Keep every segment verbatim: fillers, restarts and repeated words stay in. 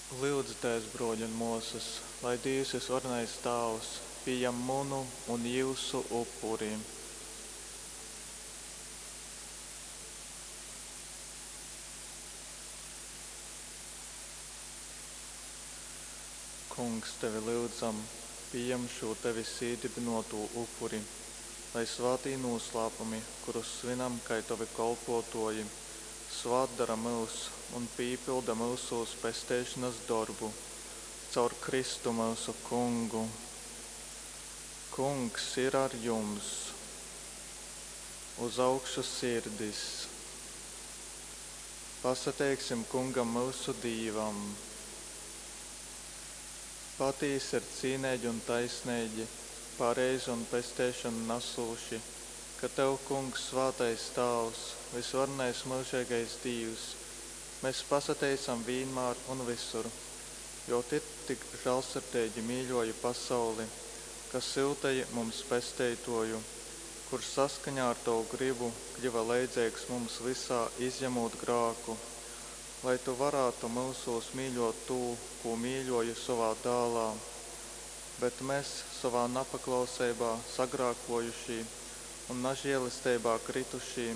Lyudzitēs, brōļi un mōsas, lai Dīvs vysvarenais Tāvs pījam munu un jyusu upuri. Kungs, tevi lyudzam, pījam šū tevis īdybynōtū upuri, lai svātī nūslāpumi, kurus svinam kai tovi kolpōtōji, svātdora myus un pīpylda myusūs pesteišonas dorbu. Caur Kristu myusu Kungu. Kungs ir ar jums! Uz augšu sirdis! Pasateiksim Kungam myusu Dīvam! Patīsi ir cīneigi un taisneigi, pareizi un pesteišonu nasūši, ka Tev, Kungs, svātais Tāvs, vysvarenais myužeigais Dīvs, mēs pasateicam vīnmār un visur, jo Tu tik žālsirdeigi mīļōji pasauli, ka syuteji mums Pesteitōju, kurš saskaņā ar Tovu grybu kļyva leidzeigs mums vysā, izjamūt grāku, lai Tu varātu myusūs mīļōt tū, kū mīļōji sovā Dālā. Bet mes, sovā napaklauseibā sagrākōjušī un nažielesteibā krytušī,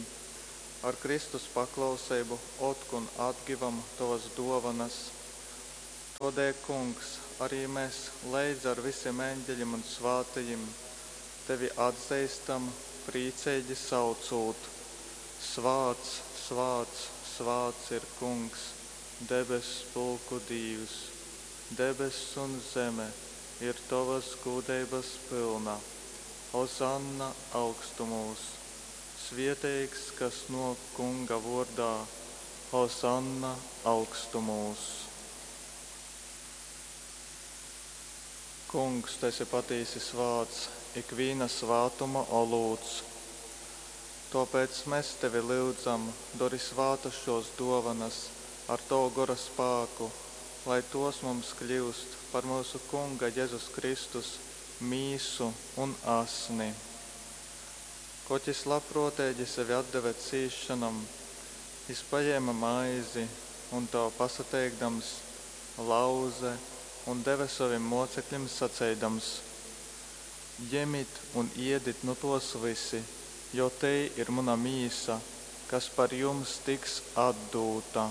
ar Kristus paklauseibu otkon atgivam Tovas dōvanas. Tōdēļ, Kungs, arī mes leidza ar visim eņģeļim un svātajim Tevi atzeistam, prīceigi saucūt: Svāts, svāts, svāts ir Kungs, debess pulku Dīvs! Debess un zeme ir Tovas gūdeibas pylna. Ozanna augstumūs! Svieteigs, kas nōk Kunga vōrdā! Ozanna augstumūs! Kungs, tu esi patīsi svāts, ikvīna svātuma olūts. Tōpēc mēs tevi lyudzam, dori svātas šōs dōvanas ar Tovu Gora spāku, lai tōs mums kļyust par myusu Kunga Jezus Kristus mīsu un asni. Kod jys labprōteigi sevi atdeve cīsšonom, jys pajēme maizi un, Tev pasateikdams, lauze un deve sovim mōceklim saceidams: Jemit un iedit nu tōs vysi, jo tei ir muna mīsa, kas par jums tiks atdūta.